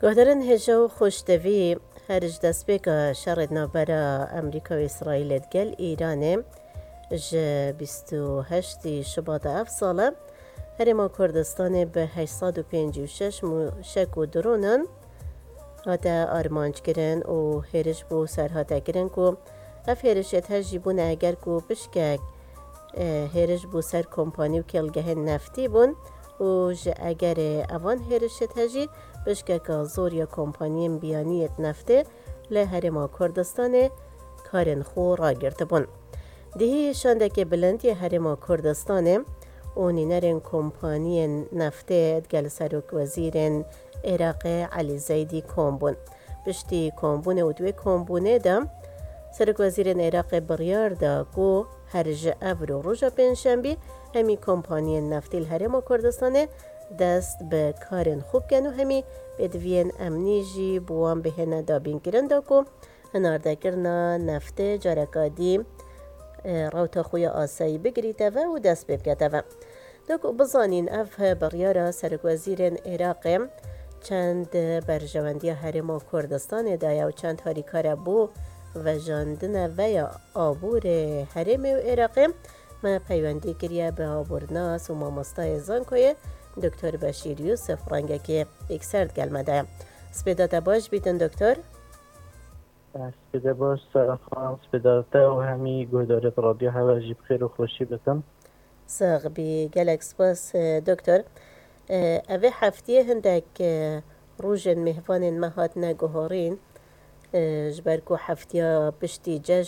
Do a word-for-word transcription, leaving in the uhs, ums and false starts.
Guhdarên hêja û xweştevî, her ji destpêka şerê navbera Amerîka û Îsraîlê digel Îranê ji bîst û heştî Şibata ev sala Herêma Kurdistanê bi heşt sed û pêncî û şeş mûşek û dronan hate armanckirin û hêriş bo ser hate kirin ku ev hêrişêt hejî bûne eger ku pişkek, e, hêriş bo ser kompanî û kêlgehên neftî bûn û ji egerê evan hêrişêt hejî pişkeka zor ya kompaniyên biyaniyêt neftê li Herêma Kurdistanê karên xwe ragirtibûn. Dihî şandekê bilind yê Herêma Kurdistanê û nînerên kompaniyên neftê digel serokwezîrên Iraqê Elî Zeydî kom bûn. Piştî kombûnê û di wê kombûnê de serokwezîrên Iraqê biryar da ku her ji evro roja pêncşembî hemî kompaniyên neftî li Herêma Kurdistanê dest bi karên xwe bikin û hemî pêdiviyên emnî jî bi wan bihêne dabînkirin da ku hinardekirina neftê careka dî, e, rewta xwe ya asayî bigirîte ve û dest pê bikete ve. Da ku bizanîn ev biryara serokwezîrên Iraqê çend berjewendiya Herêma Kurdistanê daye û çend harîkare bo vejandine ve ya aborê herêmê û Iraqê, me peywendî kiriye bi abornas û mamostayê zankoyê Doktor Beşîr Yûsif rengekê yekser digel me de ye. Spêda te baş bîtin doktor. Spêde baş Sara Xan, spêda te û hemî guhdarêt radyo heve jî bi xêr û xweşî bitin. Sax bî, gelek spas, e, doktor. E, evê heftiyê hindek, e, rojên mêvanên me hatine guhorîn, e, ji ber ku heftiya piştî cejn